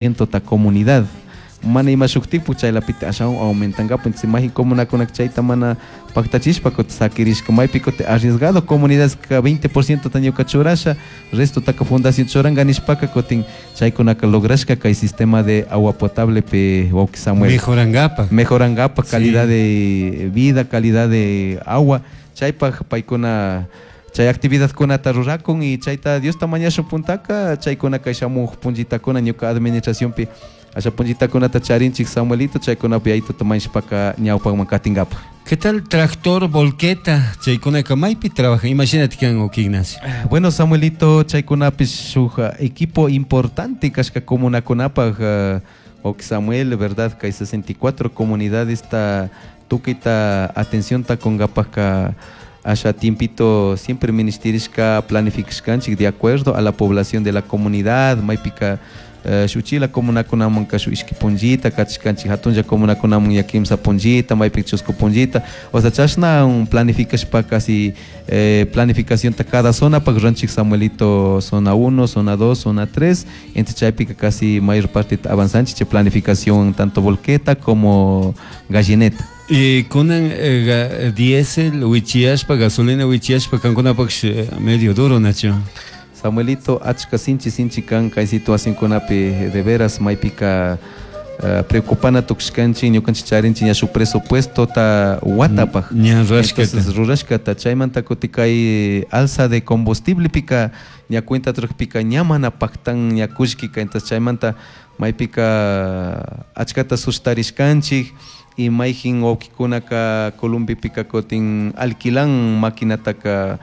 Ta comunidad mana ima shuktipu chaylapita ashawan aumentangapa. Entonces mayjin comunakunaka chayta mana paktachishpa kutin sakirishka, maypi kutin arriesgado comunidadka 20% ta ñuka churasha, restotaka fundación churanka nishpaka, kutin chaykunaka lograshka kay sistema de agua potable pe, wawki Samuel. Mejorangapa. Mejorangapa calidad de vida, calidad de agua, chaypaj paykuna chay actividadkunata rurakun. Y chayta Diosta mañashun puntaka chaykuna kay shamuj punchitakuna ñuka administracionpi asha punchitakunata charinchik, Samuelito, chaykunapi aytuta mañashpaka ñawpakman katingapaj. ¿Qué tal tractor, volqueta? Chaykunaka maypi trabajan? Imagínate kan, wawki Ignacio. Bueno, Samuelito, chaykunapish shuk equipo importante kashka comunakunapaj, wawki Samuel, verdad, kay 64 comunidades ta tukuyta atencionta kunkapajka asha tiempito siempre ministirishka, planificashkanchik de acuerdo a la población de la comunidad. Maypika shuchila comunakunamanka shuk ishki punllita kachishkanchik, hatunlla comunakunaman ya kimsa punllita, maypika chusku punllita, o sea, chashna un planificashpa casi planificacionta cada zona pak ruranchik, Samuelito, zona 1, zona 2, zona 3. Entonces chaypika casi mayor parte avanzanchik chay planificación, tanto volqueta como gallineta. Y kunan diésel wichiyashpa, gasolina wichiyashpa, kankunapaksh medio duro, nachu? Samuelito, achka sinchi sinchi kan kay situacionkunapi, de veras maypika preocupana tukushkanchik. Ñukanchik charinchik ña shuk presupuesto ta watapaj. Ña rurashkata. Entonces rurashkata, chaymanta kutin kay alza de combustiblepika ña cuenta rukpika ña mana paktan ña kullkika. Entonces chaymanta maypika achkata sustarishkanchik y mayjin wawkikunaka Columbipika kutin alquilan maquinataka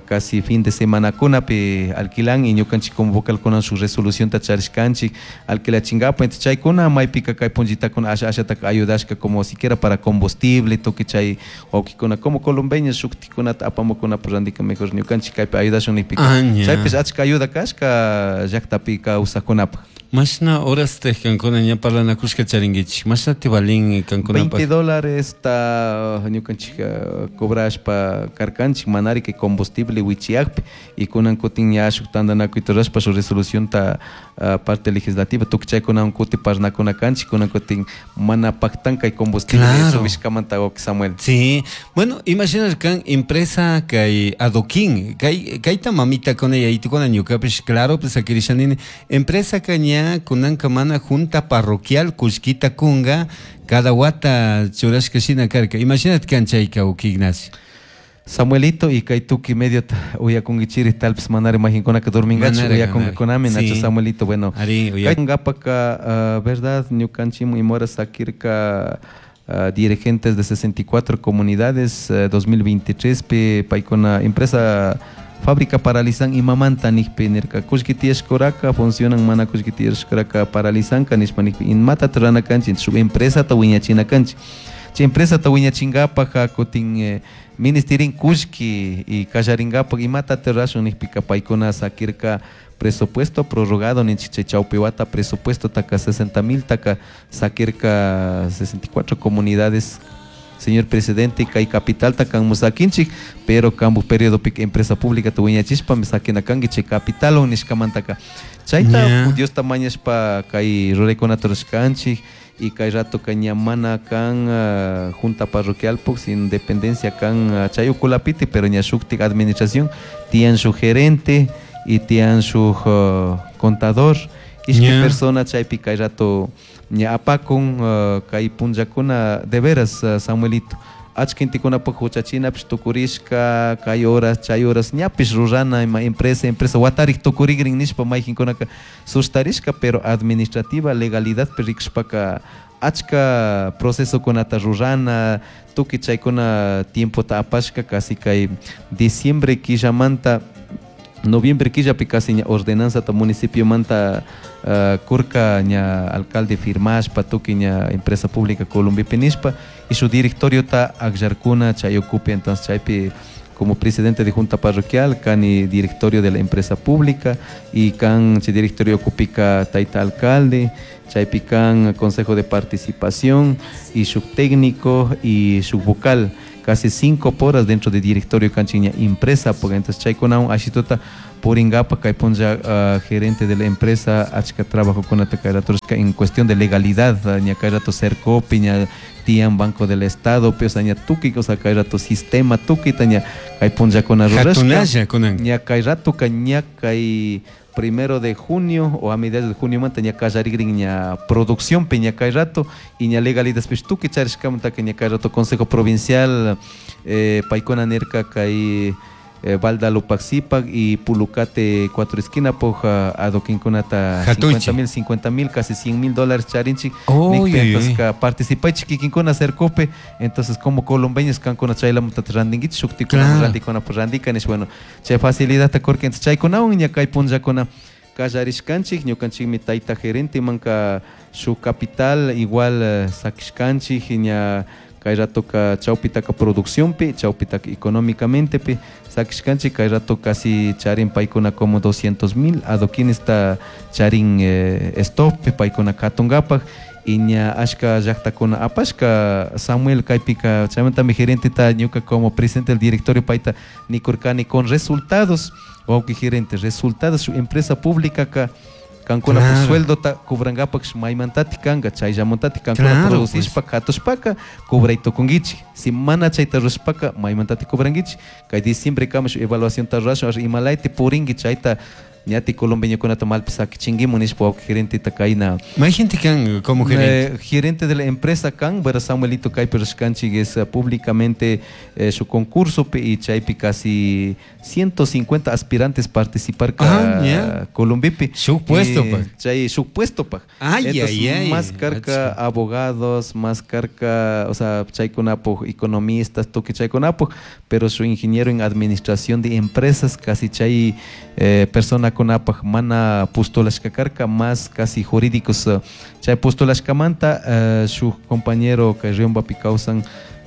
casi fin de semanakunapi alquilan, y ñukanchik como vocalkuna shuk resolucionta charishkanchik alquilachingapa. Entonces chaykuna maypika kay punchitakuna asha ashataka ayudashka como siquiera para combustible tukuy chay wawkikuna como colombeños shuktikunata apamukunapuk randika mejor ñukanchik kaypi ayudashun nikpika chaypish achka ayuda kashka llaktapi kawsakkunapuk. Mashna horasta kankuna ña parlanakushka charinkichik? Mashnati valin kankunapaq? $20 ta ñukanchik cobrashpa karkanchik manari kay combustible wichiyakpi, y kunan kutin ña shuk tantanakuyta rurashpa shuk resolucionta parte legislativa tukuy chaykunawan kuti parnakuna kanchik. Kunan kutin mana paktan kay combustible subishkamanta, wawki Samuel. Sí, bueno, imagina kan empresa kay adoquín, kay kayta mamitakuna yaytukuna ñukapish claro pues sakirishanini empresa ka ña kunanka mana junta parroquial kullkita kunga cada wata churashka shina karka. Imagínate kan chayka, wawki Ignacio. Samuelito, y kay tukuy medio uyakunkichiri, tal vez manari mayjinkunaka dormingachu uyakunkakunami, nacho, Samuelito? Bueno, Ari, kay ngapaka verdad ñukanchikmun imora sakirka dirigentes de 64 comunidades 2023 pi paykuna empresa fábrica paralizan imamanta nikpi nirka kullki tiyashkuraka funcionan, mana kullki tiyashkuraka paralizanka nishpa nikpi, imata rurana kanchik? Shuk empresata wiñachina kanchik. Chay empresata wiñachinkapak kutin ministerin kullki y kallarinkapak imata rurashun nikpika paykuna sakirka presupuesto prorrogado ninchik, chay chawpi wata presupuesto taka 60 mil taka sakirka 64 comunidades. Señor presidente, kay capitalta kanmu sakinchik, pero kampu periodopika empresa pública ta wiñachishpami sakina kanki chay capitalwan nishkamantaka chayta Diosta mañashpa kay ruraykunata rurashkanchik. Y kay ratoka ña mana kan junta parroquialpuk sin dependencia kan chay ukulapiti, pero ña shuktik administración tiyan shuk gerente y tiyan shuk contador, ishkay persona chaypi kay rato ña apakun kay punllakuna. De veras, Samuelito, achka gentekunapak huchachinapish tukurishka kay horas chay horas ñapish rurana ima empresa empresa watarik tukurigrin nishpa mayjinkunaka sustarishka, pero administrativa legalidadpi rikushpaka achka procesokunata rurana, tukuy chaykuna tiempota apashka. Casi kay diciembre killamanta, noviembre killapi casi ña ordenanzata municipiomanta kurka ña alcalde firmashpa tukuy ña empresa pública Columbipi nishpa y su directoriota akllarkuna chay ukupi. Entonces chaypi como presidente de junta parroquial kani directorio de la empresa pública y kan chay directorio ukupika tayta alcalde, chaypi kan consejo de participación y shuk técnico y shuk vocal. Casi 5 horas dentro de directorio kanchik ña empresa porque entonces chaykunawan ashituta puringapa kay punlla gerente de la empresa achka trabajokunata kay rato en cuestión de legalidad ña kay rato Sercopi ña tiyan Banco del Estado o sea ña tukuy o sea kay rato sistema tukuyta ña kay punllakuna rurashka ña kay ratoka ña kay 1 de junio o a mediados de junio manta ña kallarikrin ña producción ña kay rato y ña legalidad tukuy charishkamantaka ña kay rato Consejo Provincial paykuna nirka kay Balda Lupaxipac y Pulucate Cuatro Esquina poj adoquinkunata 50 mil, casi $100 mil charinchik. Entonces participaychik kikinkuna Sercope, entonces como colombeños kankuna chaylamuta randinkichik, shuktikuna randikuna pues randika nish. Bueno, chay facilidad kurka. Entonces chaykunawan ña kay punllakuna kallarishkanchik. Ñukanchikmi tayta gerente manka shuk capital igual sakishkanchik ña kay ratoka chawpitaka producciónpi, chawpitaka económicamente pi sakishkanchik. Kay rato casi charin paykuna como 200 mil adoquinesta charin stop paykuna katungapak y ña ashka llaktakuna apashka, Samuel. Kaypika chaymantami gerenteta ñuka como presidente del directorio payta nikurkani con resultados: wawki gerente, resultados, su empresa pública ka kankuna claro. Sueldota cobrangapak maymantati kanga, chayllamuntati kankuna claro, producishpa pues. Katushpaka cobray tukunkichik. Si mana chayta rurashpaka, maymantati cobrankichik? Kay diciembre kama shuk evaluación ta rurashun, imalayti purinki chayta ñati colombeñokunata malpi sakichinkimun nishpa wawki gerenteta kayna. May gente kan como gerente. Gerente de la empresa kan, pero Samuelito, kaypi rurashkanchik es públicamente su concurso y chaypi casi 150 aspirantes participar ka. Ah, Colombipi. Shuk puesto pa. Chay shuk puesto pa. Ay, entonces, ay, ay. Más karka abogados, más karka, o sea, chaykunapuk economistas, tukuy chaykunapuk, pero su ingeniero en administración de empresas casi chay persona kunapak mana postulashka karka, más casi jurídicos chay postulashkamanta shuk compañero kay Riombapi kawsan,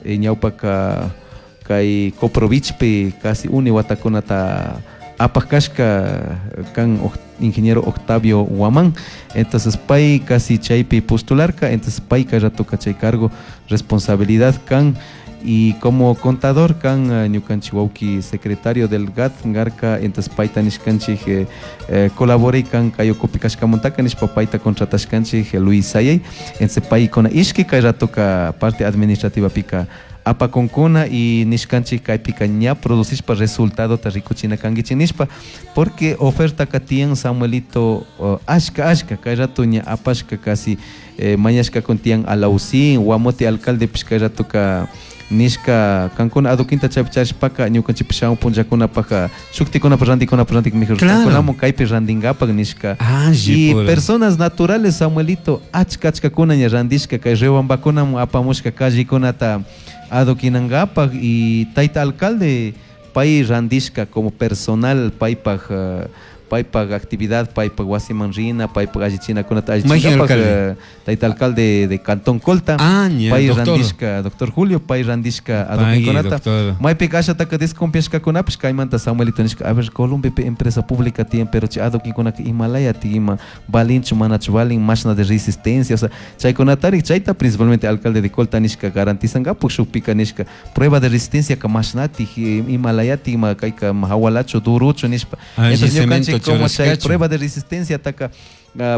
ñawpaka kay Coprovichpi casi uni watakunata apaj kashka kan, ingeniero Octavio Guamán. Entonces pay casi chaypi postularka, entonces pay kay ratoka chay cargo responsabilidad kan. Y como contador kan ñukanchik wawki secretario del GAD garka. Entonces payta nishkanchik colaboray kan kay ukupi kashkamantaka nishpa payta contratashkanchik, Luis Sayay. Entonces paykuna ishki kay ratoka parte administrativa pika apakunkuna. Y nishkanchik kaypika ña producishpa resultadota rikuchina kankichik nishpa, porque oferta tiyan, Samuelito, ashka ashka kay rato ña apashka casi mañashkakun tiyan Alausín, Guamote alcaldepish kay ratoka nishka kankuna adoquinta chaypi charishpaka ñukanchikpish shamun punllakunapaka shuktikunapa randikunapa randik mejor kankunamun kaypi randinkapak nishka. Alli Y pura. personas naturales, Samuelito, achka achkakuna ña randishka kay Riobambakunamun apamushka callekunata adoquinankapak. Y tayta alcalde pay randishka como personal paypak paypak actividad, paypak wasiman rina, paypak allichinakunata Mayqin allichinkapak. Alcalde? Tayta alcalde de Cantón Colta. Ah, ña, pay doctor. randishka, doctor Julio, pay randishka Pagui, adoquinkunata. doctor. Maypika ashataka desconfiashkakunapish kaymanta, Samuelito, nishka: a ver, Colombiapi empresa pública tiyan, pero chay adoquinkunaka imalaya ima valinchu manachu valin, mashna de resistencia, o sea, chaykunatari chayta principalmente alcalde de Colta nishka garantizankapak shukpika nishka prueba de resistencia ka mashnatik imalayati ima kayka hawalachu duruchu nishpa. Alli Entonces cemento ñukanchik como chay churashkachu. Prueba de resistencia taka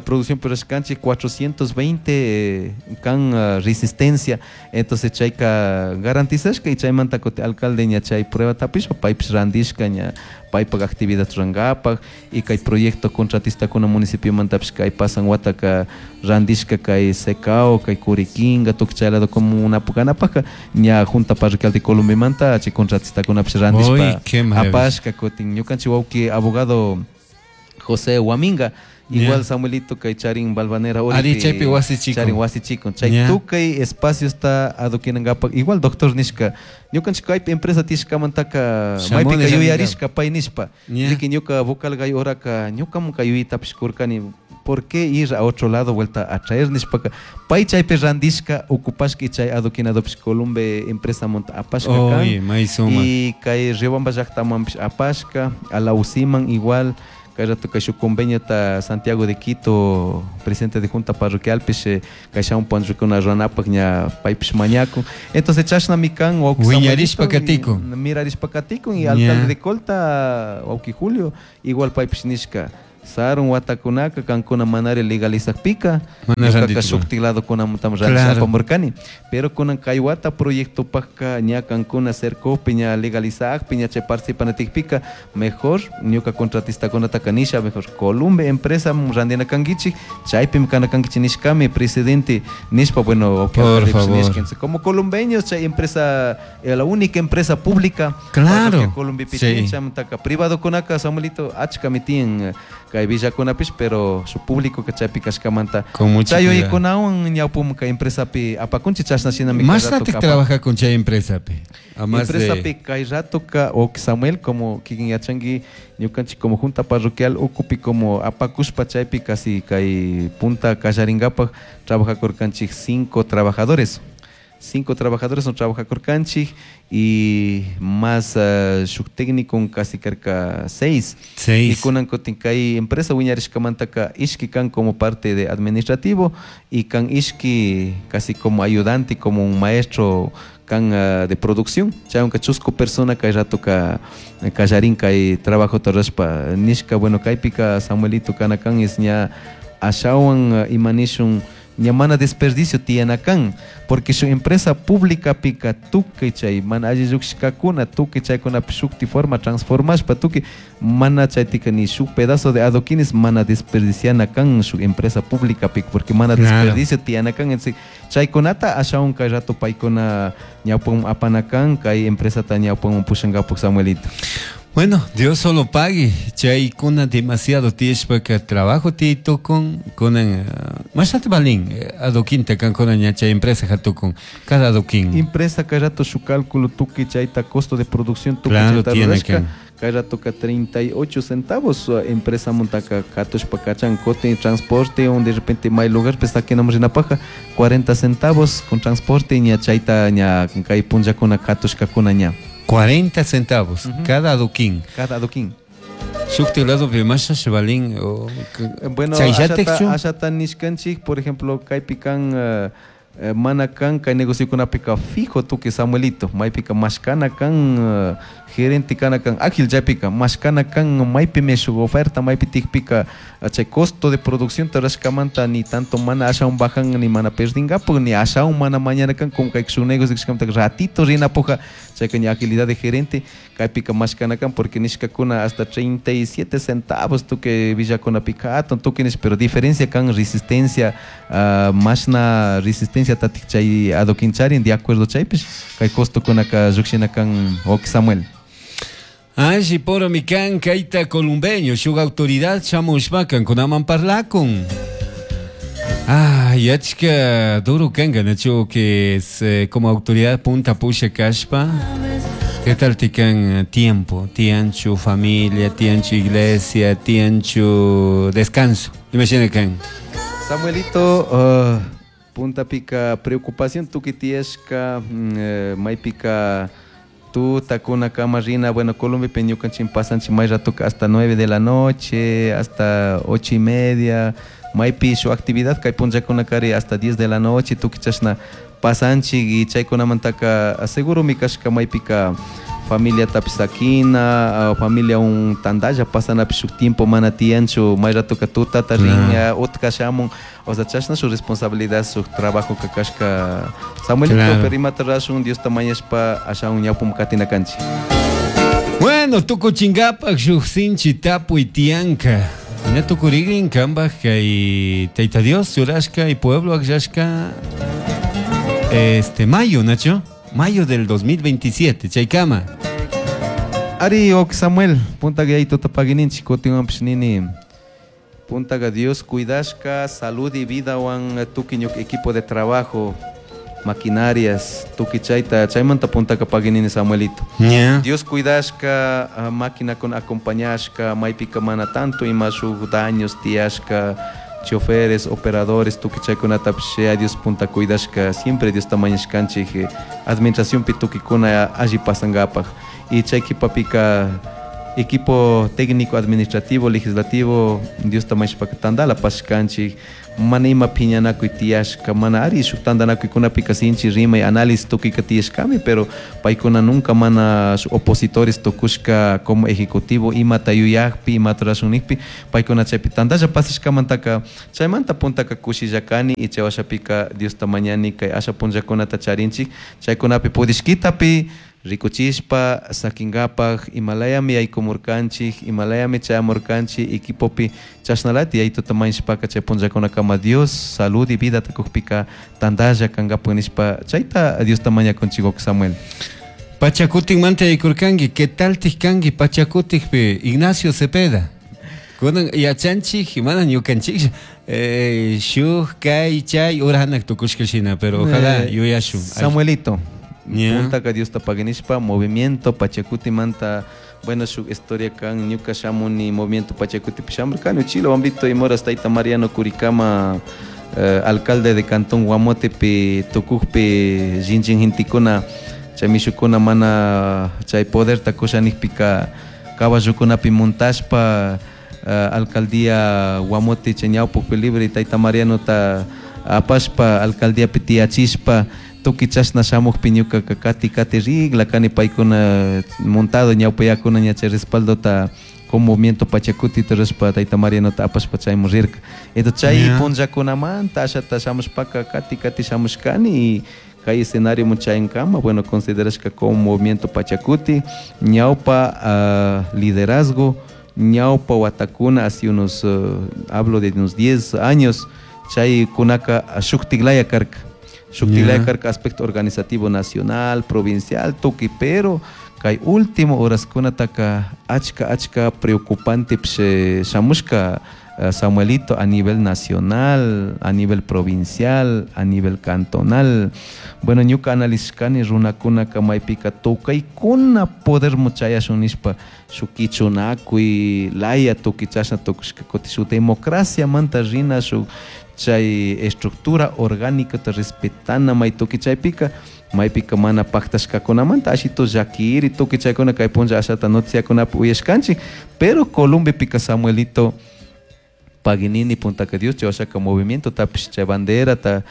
producción rurashkanchik 420 kan resistencia. Entonces chayka garantizashka y chaymanta kuti alcalde ña chay prueba tapishpa paypish randishka ña paypak actividad rurankapak. Y kay proyecto contratistakuna municipiomantapish kay pasan wataka randishka kay Secao, kay Curiquinga, tukuy chay lado como una kanapaka ña junta parroquial de Colombiamanta chay contratistakunapish Uy, randishpa qué maravilla. apashka. Kutin ñukanchik wawki abogado José Huaminga igual, Samuelito, kay charin Balvanera Ari, chaypi wasi chikun. charin wasi chikun chay tukuy espaciosta adoquinankapak. Igual doctor nishka ñukanchik kaypi empresa tishkamantaka Shamuni maypika randinkapak. yuyarishka pay nishpa. Riki ñuka vocal gay oraka ñukamun kay yuyaytapish kurkani, ¿por qué ir a otro lado vuelta a traer nishpaka pay chaypi randishka ocupashka y chay adoquinadopish Columbe empresa monta apashka kan. Oye, may sumak. Y kay Riobamba llaktamanpish apashka, Alausiman igual. Kay rato kay shuk conveniota Santiago de Quito, presidente de junta parroquial, pish kay shamun punllakuna ruranapaj ña paypish mañakun. Entonces chashnami kan wawki Wiñarishpa Samuelito, katikun. Mirarishpa katikun y alcalde de Colta, wawki Julio, igual paypish nishka. Sarun watakunaka kankuna manari legalizakpika, Mana ñukaka randitukun. shuktik ladokunamantami randishpa apamurkani. Pero kunan kay wata proyectopajka ña kankuna cercojpi, ña legalizakpi, ña chay participanatikpika, mejor ñuka contratistakunataka nisha, mejor Columbe empresa randina kankichik, chaypimi kana kankichik nishkami, presidente nishpa, bueno, ok, Por alcalde favor. nishka. Entonces, como columbeños, chay empresa, la única empresa pública, Claro. parroquia Columbe Sí. tiyan, chamantaka privado kunaka, Samuelito, achkami tiyan, kay villakunapish, pero su público que chaypi kashkamanta. Con mucho Chay cuidado. uyaykunawan ñawpum kay empresapi apakunchik, chashna shinami kay Más rato natik ka trabaja con chay empresapi. A más de Empresapi kay rato ka, o Samuel, como kikin yachanki, ñukanchik como junta parroquial ukupi como apakushpa chaypi casi kay punta kallarinkapak trabajakurkanchik 5 trabajadores. 5 trabajadores no trabajakurkanchik y más shuk técnico casi cerca 6. 6. Y kunan kutin kay empresa wiñarishkamantaka ishki kan como parte de administrativo y kan ishki casi como ayudante, como un maestro kan de producción. Chaywanka chusku persona kay rato ka kallarin kay trabajo torrashpa nishka, bueno, kaypika Samuelito kana kan es ña ashawan imanishun ña mana desperdicio tiyana kan, porque su empresa pública pica tuki chay mana alli llukshkakuna tuki chaykunapi shukti forma transformashpa tuki mana chaytika ni shuk pedazo de adoquines mana desperdiciana kan su empresa pública pica, porque mana desperdicio tiyana kan. Entonces chaykunata ashawan kay rato paykuna ñawpan apana kan kay empresata ñawpan pushankapuk, Samuelito. Bueno, Dios solo pague. Chaykuna demasiado tiyashpaka trabajo tiytukun, kunan, mashnata valin adoquinta kan kunan ña chay empresa hatukun, cada adoquín. Empresa kay rato su cálculo tuki chayta costo de producción tuki Claro, chayta tiene rurashka, que. kay rato ka 38 centavos, empresa montaka katushpa kachan kote transporte, un de repente may lugar pues saquenamos rinapaja 40 centavos con transporte ña chayta ña kay punllakuna katushkakuna ña. 40 centavos cada adoquín. Cada adoquín. Shukti lado pe masha valin o Bueno, chayllatekchu? ashata nishkanchik, por ejemplo, kaypi kan, mana kan kay negociokunapika fijo tuki Samuelito, maypika mashkana kan, gerente kana kan ágil chaypika mashkana kan maypimi shuk oferta maypi tikpika, chay costo de producción tarashkamanta ni tanto mana ashawan bajan ni mana perdingapu ni ashawan mana mañana kan como kay shuk negocio kashkamanta ratito rinapuja chayka ña agilidad de gerente kaypika mashkana kan porque nishkakuna hasta 37 centavos tuki villakunapika hatun tuki nish, pero diferencia kan resistencia, mashna resistencia tatik chay adoquín charin de acuerdo chaypish kay costo kunaka llukshina kan wawki Samuel. Angie poro mi kan kayta columbeño shuk autoridad shamushpa kankunaman parlakun. Ah, yachka duro kanka nacho que es, como autoridad punta pusha kashpa. ¿Qué tal tikan tiempo? Tianchu familia, tianchu iglesia, tianchu descanso. Imagina kan. Samuelito, punta pica preocupación tuki tieska, maypika tu takuna kama rina, bueno, Colombia peñukan pasan may rato hasta 9 de la noche, hasta ocho y media, maypi su actividad kay punllakuna kari hasta 10 de la noche, tuki chashna pasanchik y chaykunamantaka seguro mi kashka maypika familia tapisakina, familia un tandalla pasanapi shuk tiempo mana tiyanchu, may rato ka tutata rin, utka shamun, o sea, chashna su responsabilidad, su trabajo ka kashka Samuelito, pero imata rashun, Dios tamañashpa ashaun ñawpum katina kanchi. Bueno, tukuchingapak shuk sinchi tapuy tiyanka. Ña tukurigrin kambaj kay Tayta Dios churashka y pueblo akllashka mayo, Nacho. Mayo del 2027, chaykama. Ari, ok, Samuel, punta que ahí tota pagininchi, kotiwan nini. Punta que Dios cuidashka, salud y vida wan tuki ñuk equipo de trabajo, maquinarias, tuki chayta, chaymanta punta que paginini Samuelito. Dios cuidashka, máquina con acompañashka, maypika mana tanto y más daños tiashka, choferes, operadores, tuki chaykunatapish, Dios punta cuidashka, siempre Dios tamañashkanchik, administración pi tukikuna alli pasangapaj. Y chay kipapika Equipo técnico, administrativo, legislativo, Diosta mañashpaka tandala pasashkanchik, mana ima piñanakuy tiyashka, mana ari shuk tantanakuykunapika sinchi rimay análisis tukuyka tiyashkami, pero paykuna nunca mana shuk opositores tukushka como ejecutivo imata yuyakpi, imata rurashun nikpi, paykuna chaypi tantalla pasashkamantaka chaymanta puntaka kushilla kani y chay washapika Diosta mañani kay asha punllakunata charinchik, chaykunapi pudishkitapi rikuchishpa sakinkapak imalayami yaykumurkanchik, imalayami chayamurkanchik equipopi chashnalati yaytuta mañashpaka chay punllakunakama Dios salud y vida kukpika tantalla kankapak nishpa chayta Diosta mañakunchik Samuel. Pachakutikmanta yaykurkanki, ¿qué tal kanki Pachakutikpi Ignacio Cepeda? Kunan yachanchik, mana ñukanchik shuk kay chay urahanak tukushka shina, pero ojalá yuyashun. Samuelito, puntaka Diosta paginishpa movimiento Pachakutimanta, bueno, shuk historia kan ñuka shamuni movimiento Pachakutipi shamurkani uchila wambrito imoras tayta Mariano Curicama alcalde de Cantón Guamotepi tukukpi llinchin gentikuna chay mishukuna mana chay poderta kushanikpika caballokunapi montashpa alcaldía Guamote chay ñawpukpi libre tayta Marianota apashpa alcaldíapi tiyachishpa tukuy chashna shamukpi ñukaka kati kati rigla kani paykuna montado ñawpayakuna ña chay respaldota con movimiento Pachacuti rishpa tayta Marianota apashpa chaymun rirka. Entonces chay punllakunamanta ashata shamushpaka kati kati shamushkani y kay escenario chayankama, bueno, considerashka como movimiento Pachacuti ñawpa liderazgo ñawpa watakuna hace unos, hablo de unos 10 años, chay kunaka shuktiklaya karka. Shuktiklaya karka aspecto organizativo nacional, provincial, tukuy, pero kay último horaskunataka achka achka preocupante shamushka Samuelito a nivel nacional, a nivel provincial, a nivel cantonal. Bueno, ñuka analizkani runakunaka maypika tukaykuna poder chayashun nishpa shuk kichunakuy laya tukuy chashna tukushka kutin shuk democraciamanta rina shuk chay estructura orgánica respetana may tukuy chaypika maypika mana paktashkakunamanta ashito llakiri tukuy chaykuna kay punlla ashata noticiakunapi uyashkanchik, pero Columbepika Samuelito paginini puntaka Dios chay washaka movimiento tapish chay banderata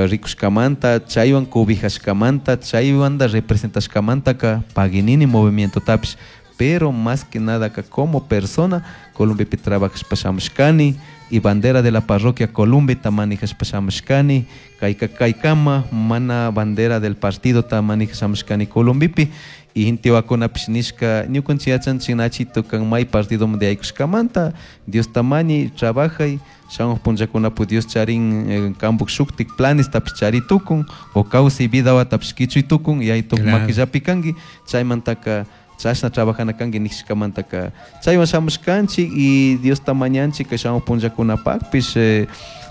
rikushkamanta chaywan cobijashkamanta chaywanda representashkamantaka paginini movimiento tapish, pero más que nada ka como persona Columbepi trabajashpa shamushkani y bandera de la parroquia Columbe ta manejashpa shamushkani, kayka kaykama mana bandera del partido ta manejashamushkani Columbipi y intiwakunapish nishka ñukanchik yachanchik Nachito kan may partido de aykushkamanta Dios tamañi trabajay shamuj punllakunapi Dios charin kambuk shuktik planes tapish chari tukun o kawsay vidawatapish kichuy tukun y aytuk makillapi kanki chaymantaka chashna trabajana kanki nishkamantaka chaywan shamushkanchik y Dios tamañanchik kay shamuj punllakunapakpish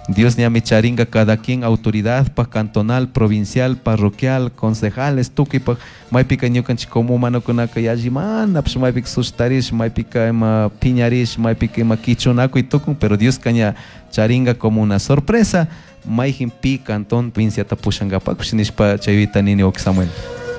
Dios ñami charinga cada quien autoridad pa cantonal, provincial, parroquial, concejales, tukuy pa maypika ñukanchik como humanokunaka yallimana pues maypika sustarish, maypika ima piñarish, maypika ima kichunakuy tukun, pero Dios ña charinga como una sorpresa mayjin pi cantón provinciata pushankapakpish nishpa chayvita nini wawki Samuel.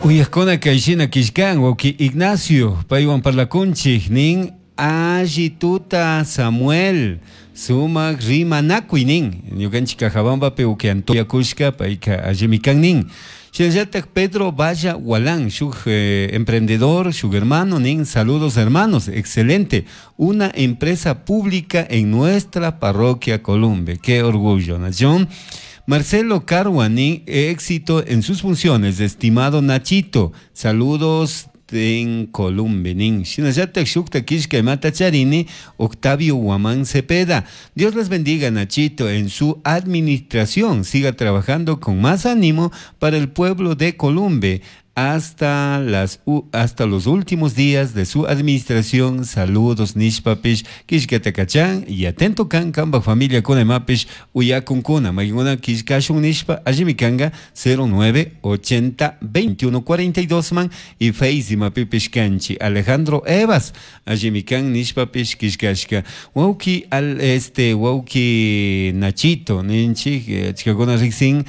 Uyajkuna kayshina kishkan wawki Ignacio paywan parlakunchik nin allituta Samuel sumak rimanakuy nin ñukanchik Cajabambapi uki Antonio Kushka payka allimi kan nin. Shinallatak Pedro Valla Walán, shuk emprendedor, shuk hermano nin, saludos hermanos, excelente, una empresa pública en nuestra parroquia Columbe, qué orgullo, nación. Marcelo Carhuaní, éxito en sus funciones, estimado Nachito, saludos en Columbe nin. Shinallatak shukta kishka imata charini, Octavio Guamán Cepeda. Dios les bendiga, Nachito, en su administración. Siga trabajando con más ánimo para el pueblo de Columbe hasta los últimos días de su administración. Saludos, nishpapish, kishkatakachan, y atento kan kamba familia kunemapish, uyakunkuna, mayguna kishkashun nishpa, allimi kanga 09 80 21 42 man, y face mapipish kanchi, Alejandro Evas, allimi kan nishpapish kishkashka, wauki al este, wauki Nachito, ninchi, chikakuna riksin,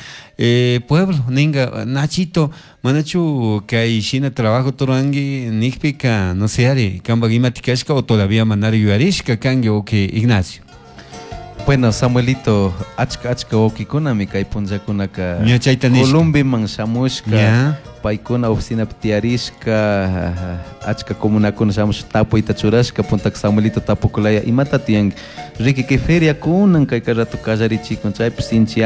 pueblo, ninga, Nachito, manachu Nachu kay shina trabajo ruranki nijpika, no sé ari, kanpak imati kashka o todavía manara yuyarishka kanki wawki Ignacio. Bueno, Samuelito, achka achka wawkikunami kay punllakunaka Ña chayta nishka. Columbiman shamushka, Ya. paykuna oficinapi tiyarishka, achka comunakuna shamushka tapuyta churashka, puntaka Samuelito tapukulaya imata tiyanki, riki kay feria kunan kay rato kallarichikun chaypi sinchi.